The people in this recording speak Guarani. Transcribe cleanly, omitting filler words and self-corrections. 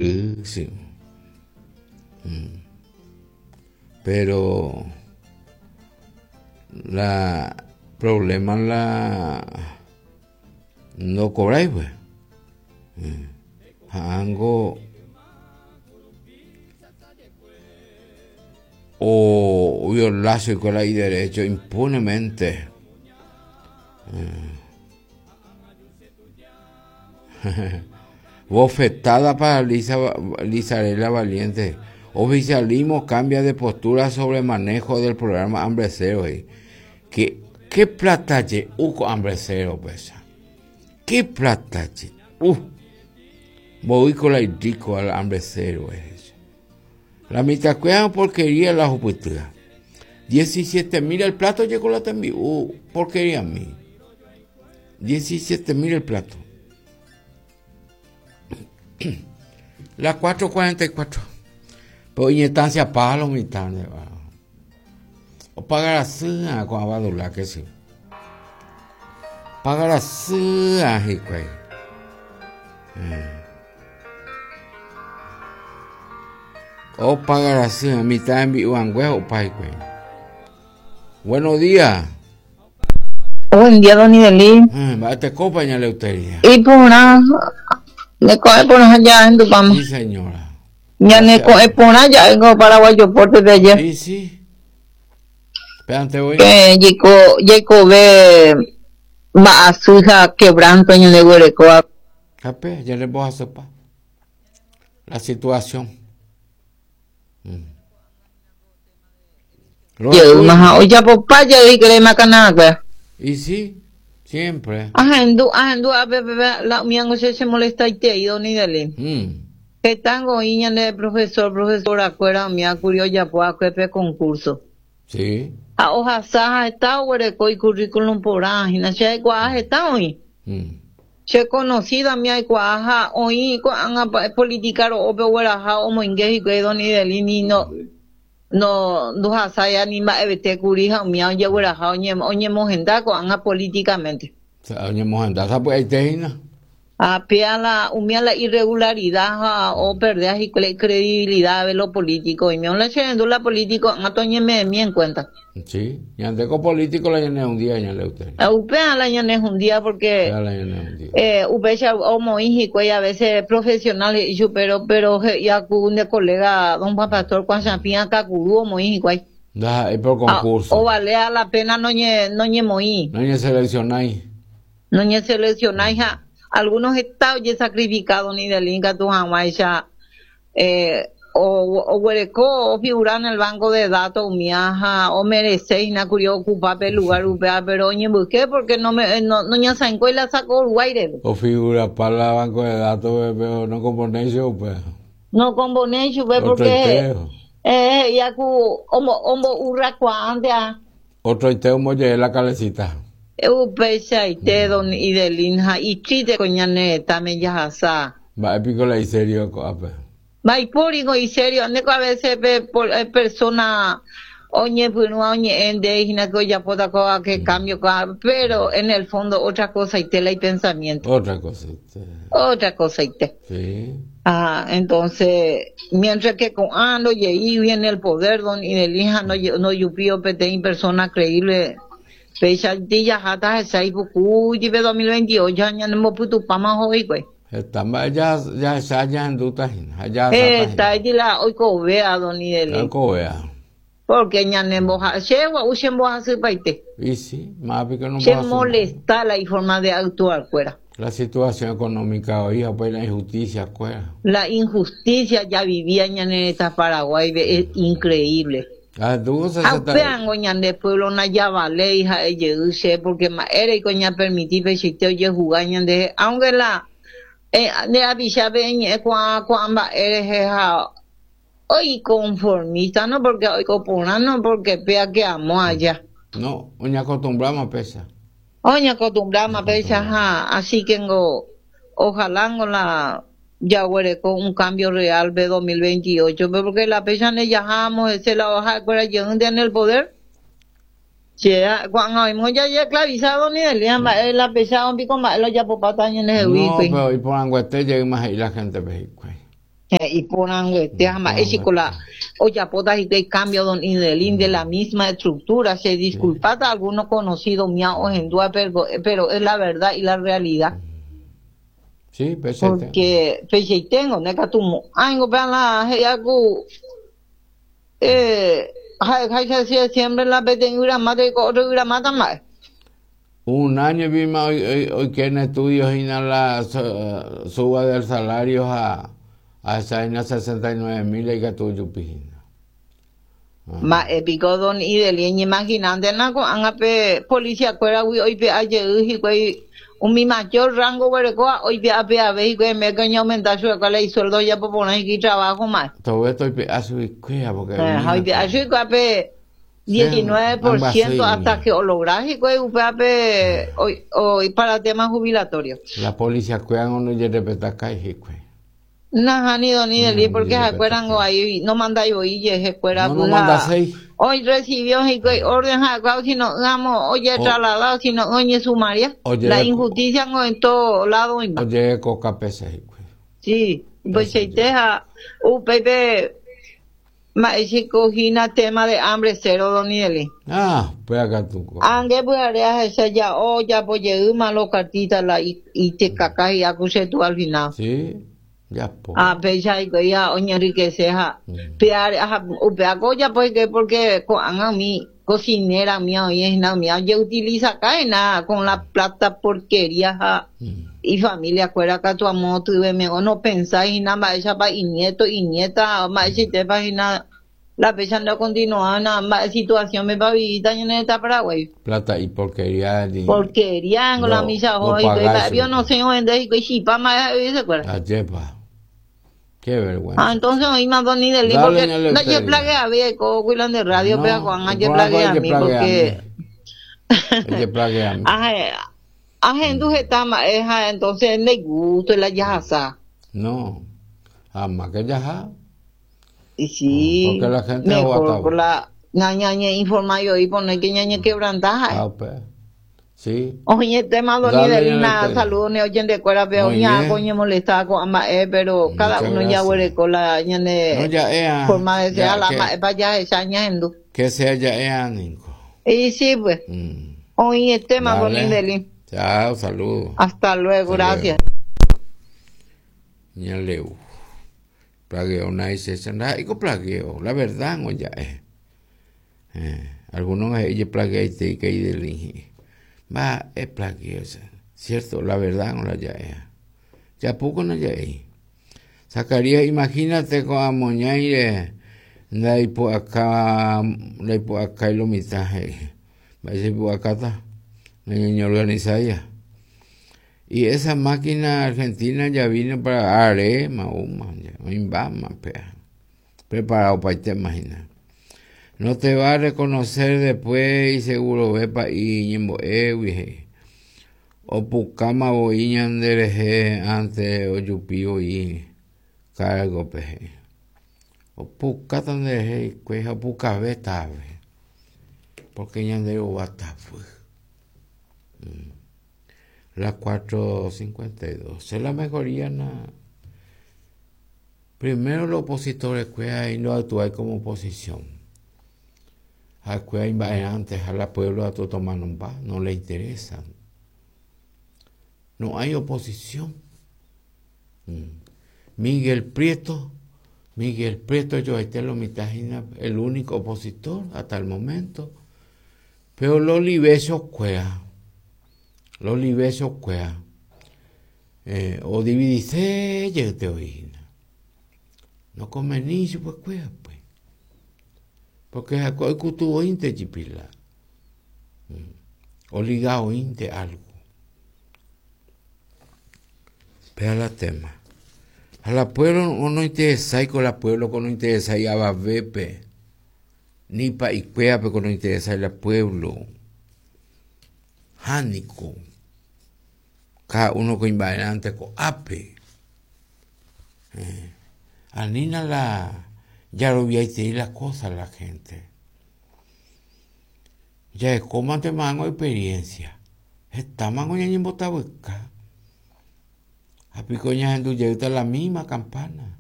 Sí. Pero la problema la no cobráis pues. Hango o violar su y derecho impunemente. Bofetada para Lisa, Lizarela Valiente. Oficialismo cambia de postura sobre manejo del programa Hambre Cero. ¿Qué, qué plata che? Hambre Cero, pesa. ¿Qué plata che? Voy con la rico al hambre cero. La mitad cueva porquería la juputura. 17 mil el plato llegó la también. Porquería a mí. 17 mil el plato. La 444. Pero instancia palo mi tarde. O pagar así con abadula que sí. Pagar así güey. O pagar así a mitad en vivo o pa güey. Buenos días. Buen día, don Idelín. Te acompaña Leuteria. Y por una, me coge por allá en Dupama. Sí, señora. Ya me coge por allá en Paraguayo Porte de ayer. Sí, sí. Espérate, voy. Que llegó ve va a su hija quebranto en el huerecoa. Cape, ya le voy a sopa. La situación. Oye, papá, ya vi que le macana, Y sí, siempre. Ajendu, ajendu, a ver, la mía no se molesta y te ido ni dele. Que tango iña de profesor, profesora, cuera, mía curio ya pueda que concurso. Sí. A hoja saja está huereco y currículum por ágina, che cuaja está hoy. Che conocida mía cuaja hoy política o pe hueraja o moingue y que don ni dele ni no. No, no hasaya ni ma evete curija mía oye hueraja oye oye mojenda con anga políticamente. Oye mojenda, esa pues ahí A pea la umia la irregularidad o perder y credibilidad de lo político y me la chendo la político anga toñe me mi en cuenta. Sí, y ande con político la llené un día ya le usted. Upea la llené un día porque upea o moiji y a veces profesional y yo pero ya con un colega don Juan Pastor Juan Champín Cacurú o moiji Da, es por concurso. O vale a la pena no ñe no ñe moí. No ñe seleccionáis. No ñe seleccionáis algunos estados ya sacrificado ni del Inca tu ya o huereco o figurar en el banco de datos miaja o merecéis na curio ocupar el lugar upea pero oye busqué porque no me no no ña sanco y la sacó Uruguay o figura para el banco de datos pero no componéis upea no componéis upea porque ya cu omo omo urracua antes otro iteo molle la calecita upecha ite don idelinja y chite coñane también ya asa va épico la serio coape va y púrico y serio ande a veces persona oñe punua oñe ende hina que ya poda coa que cambio pero en el fondo otra cosa y tela y pensamiento otra cosa otra cosa y te sí. Ah, entonces mientras que con ando y ahí viene el poder don idelinja no no yupio pete persona creíble Fecha ya hasta esa ibuku y 2028 años no puto pama hoy güey. Está ya ya ya ya en duta ya está ahí la hoy cobea don Idele. Cobea. Porque ñane moja, chewa usen moja su paite. Y sí, más que no se molesta la forma de actuar fuera. La situación económica hoy, pues la injusticia fuera. La injusticia ya vivía ñane esta Paraguay es increíble. Apeango ñande pueblo na ya vale hija de porque ma era y coña permitir pechite oye jugar ñande aunque la de avisa ven cua cua eres ja hoy conformista no porque hoy copona no porque pea que amo allá no oña acostumbramos pesa oña acostumbramos pesa ja así que ngo ojalá ngo la ya huele con un cambio real de 2028, porque la fecha ne yajamos, ese la baja de en el poder. Cuando hemos ya esclavizado ni el la fecha un pico más lo ya popata en el No, pero y por Anguete llega más ahí la gente México. Iporãnguete ha mba'e chiko la ojapóta hikuái cambio don Idelín de la misma estructura, che disculpáta alguno conocido mía ohendúva pero es la verdad y la realidad. Sí, peichaite. Porque peichaiténgo, nde katu mo'ãingo pe la he'íva ku eh, ha'eháicha siempre la peteĩ yvyramáta oiko otro yvyramáta mba'e. Un año vima oike en estudio hína la suba del salario ha ahecha hína 69 mil ikatu ojupi hína. Mba'e piko don Ideli eñemaginántena ko'ág̃a pe policiakuéragui oipe'a jey hikuái umi mayor rango oguerekóva oipe'a peave hikuái en vez que oñeaumenta chupekuéra la isueldo ojapo porã hikuái itrabajo mba'e. Tove toipe'a chuguikuéra porque Ha oipe'a chuguikuéra pe 19% hasta que ologra hikuái upévape oi para tema jubilatorio. La policía kuéra no ojerrespetakái hikuái. Nahániri don Ideli porque ha'ekuéra ngo aí nomandái voi ijehe kuéra No, nomandaséi. Oi recibió hikuái orden ha'ekuéra sino ỹamo ojetrasladado sino ỹ oñesumaria. La injusticia ngo en todo lado oĩmba. Ojerekokapese hikuái. Sí, upeichaite ha upéipe Mba'éichiko hína tema de hambre cero, don Ideli? Ah, upéva katu ko. Ange pyhare ahecha ja'o ojapo jeýma lo cartita la itekaka hi'a ku che tú al final. Sí, japo. Ha péicha hikuái ha oñenriquece ha pyhare ha upéva ko ojapo hikuái porque ko'ág̃a umi cocinera umi oĩ hína umi ojeutilizaka hína con la plata porquería ha ifamilia kuéra katu amo tyveme nopensái hína mba'éichapa inieto, inieta, mba'eichaitépa hína la péicha nde okontinuána mba'e situación-pepa ovivíta ñane retã Paraguái. Plata y porquería ni Porquería niko la misa oho hikuái mba'épi onosẽ ovende hikuái chipa mba'e ha'e ovivisekuéra. Ajépa. Qué vergüenza. Ah, entonces oĩma don Ideli porque ndajeplageavéi aiko Guilande Radio pe ko'ág̃a jeplageami porque Ejeplageami. Ahendu heta mba'e ha entonces ndaigústo la jahasa. No, amáke jaha. Y sí, Porque la gente mejor por la ñañeinforma oí poner que ñañequebranta ha'e. Ah, upe. Sí. Oñetéma don Idelina, saludo ne oyentekuérape, oña ko ñemolesta ko'ã mba'e, pero cada uno jaguereko la ñane forma de ser, la mba'épa jahecha ñahendu. Que sea ja'e'a niko. Y sí, pues. Oĩetéma don Idelín. Chao, saludo. Hasta luego, gracias. Ñaleu. Plagueo naiséicha, ndaha'éiko plagueo, la verdad ngo ja'e. Eh, algunos he'i jeplagueaitei que Idelín he'i. Mba'e plagueo che. Cierto, la verdad ngo la ja'e. Japúko ndaja'éi. Zacarías, imagínate ko'ã moñáire ndaipu'aka ndaipu'akái lo mitã he'i. Mba'éicha ipu'akáta? Nañañeorganisáiya. Y esa máquina argentina ya vino para aréma oúma, oĩmbáma péa. Preparado opaitéma hína. No te va a reconocer después isegurove pa'i ñembo'égui he'i. Opukáma voi ñande rehe ante ojupi voi kárgope he'i. Opukáta nde rehe hikuái ha opukavéta ave. Porque ñande rova tavy. Las 4:52. Che la mejoría na. Primero los opositores kuéra ndoactuái como oposición. Ha'ekuéra imba'erãnte ha la pueblo atu tomanomba, no le interesa. No hay oposición. Miguel Prieto, Miguel Prieto joaite lo mitã hína el único opositor hasta el momento. Pero los libecios kuéra, los libecios kuéra eh, odividise jeyte oĩ hína. No convení chupekuéra pues. Porque ha'ekuéra oikutu voínte jepi la oliga oĩnte algo. Péa la tema. Ha la pueblo nointeresái ko la pueblo ko nointeresái avavépe. Ni pa'ikuérape ko nointeresái la pueblo. Ha niko. Cada uno ko imba'erãnte ko'ápe. Eh, anína la jaroviaitei la cosa la gente. Jarekómantema hag̃ua experiencia. Hetámango ñañembotavyka. Ha piko ñahendu jeýta la misma campana.